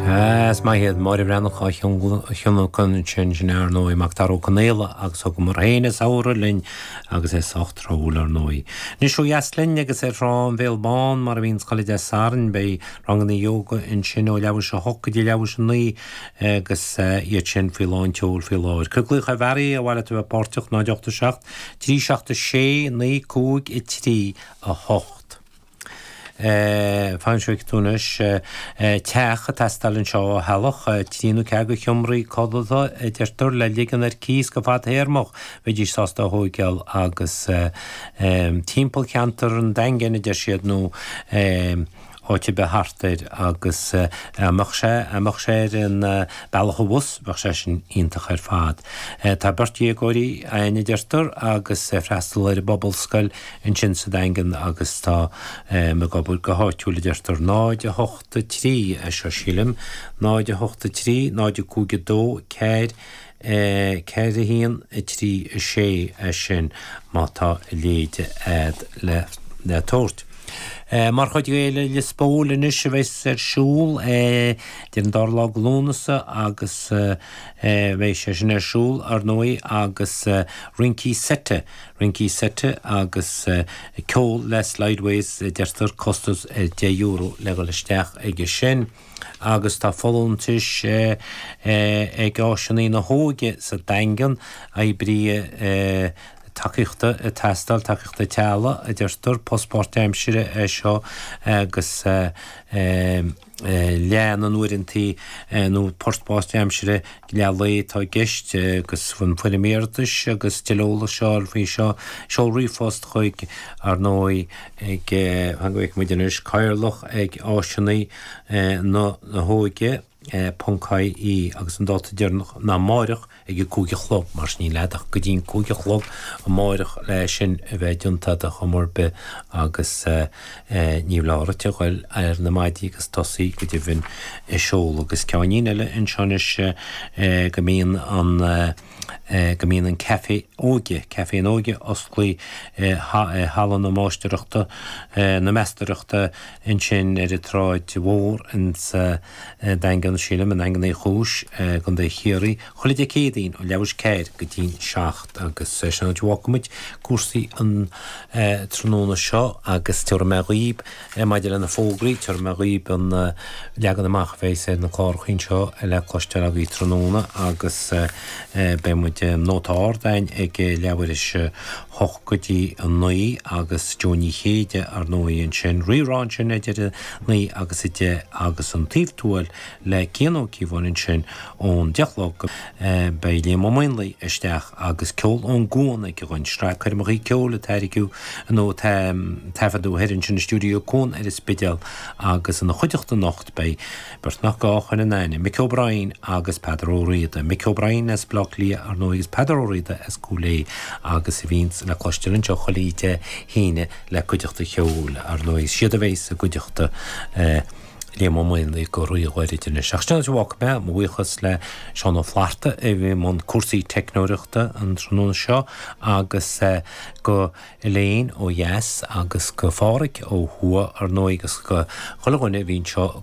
Sea, is maith iad. Máire Bhreathnach á thionlacan ansin, sin é ar ndóigh Macdara Ó Conaola agus thugamar féin an samhradh linn agus é sách tráthúil ar ndóigh. Anois ó dheas linn agus ar Thrá an Bhéal Bán mar a bhíonns chuile Dé Sathairn beidh ranganna ióga ansin ó leathuair théis a hocht go dtí leathuair théis a naoi agus iad sin faoi lán tseoil faoi láthair. Cuir glaoch ar Bharry ar mhaith leat a bheith páirteach 0 8 7 3 7 6 9 5 3 8. Fan go bhfeicfidh tú anois. Teach ag teastáil anseo ó theaghlach, 3 nó 4 de sheomraí codlata, a deirtear, le ligean ar cíos go fadthéarmach, bheidís sásta a thóigeáil agus timpeall cheantar an Daingin, a deir siad, nó áit ar bith thart air agus dá mbeadh sé, dá mbeadh sé ar an bealach abhus, bheadh sé sin iontach ar fad. Tá beirt dhéagóirí againn, a deirtear, agus ag freastal ar an bPobalscoil ansin sa Daingean agus tá ag obair go háitiúil, a deirtear. 0, 8, 3 é seo, sílim. 0, 8, 3, 0, 5, 2, 4, 4, 1, 3, 6 é sin má tá a leithéid a'd le tabhairt. Mar chuid de Fhéile Liospóil anois a bheas ar siúl idir an dara lá de Lúnasa agus beidh sé sin ar siúl ar ndóigh agus rincí seite Rincí seite agus ceol le Slideways, a deirtear, costas €10 le dhul isteach aige sin. Agus tá folúntais ag Áiseanna na hÓige sa Daingean, oibrí tacaíochta ag teastáil, tacaíochta teaghlaigh, a deirtear, post páirtaimsire é seo agus. leath na n-uaireantaí nó post páirtaimsire leath lae atá i gceist agus an foirm iarratais agus tuilleadh eolais a fháil faoi seo, seol ríomhphost chuig, ar ndóigh, ag, fan go bhfeicfidh muid anois, cathaoirleach ag áiseanna na hóige ponc ie agus an dáta deireanach ná amáireach. ag a 5 a chlog, mar sin níl a'd ach go dtí'n 5 a chlog amáireach le sin a bheith déanta a'd ar chuma ar bith agus ní foláir duit a ghoil ar na maidí agus tosaí go deimhin ag seoladh. Agus ceainnín eile anseo anois go mbíonn an go mbíonn an Café Óige, Café an Óige osclaithe i Halla na Máistireachta, na Meastaireachta ansin ar an tSráid Mhór insa Daingean, sílim, i nDaingean Uí Chúis, i gContae Chiarraí, chuile Dé Céadaoin ó leathuair théis 4 go dtí'n 7 agus sin an áit a bhfágfaidh muid cúrsaí an tráthnóna seo agus tabharfaidh mé dhaoib, maidir le na fógraí, tabharfaidh mé dhaoib an leagan amach a bheas ar na clárachaí anseo le cloisteáil agaibh tráthnóna agus beidh muid Nóta Ard againn ag leathuair théis a 8 go dtí a 9 agus Joe Ní Chéide ar ndóigh ansin, Rí-Rá ansin idir a 9 agus a 10 agus an Taobh Tuathail le Cian Ó Cíobháin ansin ón 10 a chlog. Beidh Liam Ó Maonlaí isteach agus ceol ón gCuan aige dhúinn, sraith coirmeachaí ceoil a tairgeadh nó a taifeadadh thoir ansin i stiúideo Cuan ar an Spidéal agus ina chuideachta anocht beidh Beirt nach gá a chur in aithne, Mick O'Brien agus Peadar Ó Riada. Mick O'Brien as Baile Átha Cliath, ar ndóigh, agus Peadar Ó Riada as Cúil Aodha agus a bhíonns le cloisteáil anseo chuile Dé hAoine le cuideachta cheoil, ar ndóigh. Is iad a bheas i gcuideachta Liam Ó Maonlaí go ríghairid anois. Ach sin an áit a bhfágfaidh mé, mo bhuíochas le Seán Ó Flatharta a bhí i mbun cúrsaí teicneoireachta an tráthnóna seo agus go Elaine ó dheas agus go Phádhraic ó thuaidh, ar ndóigh, agus go chuile dhuine a bhí anseo.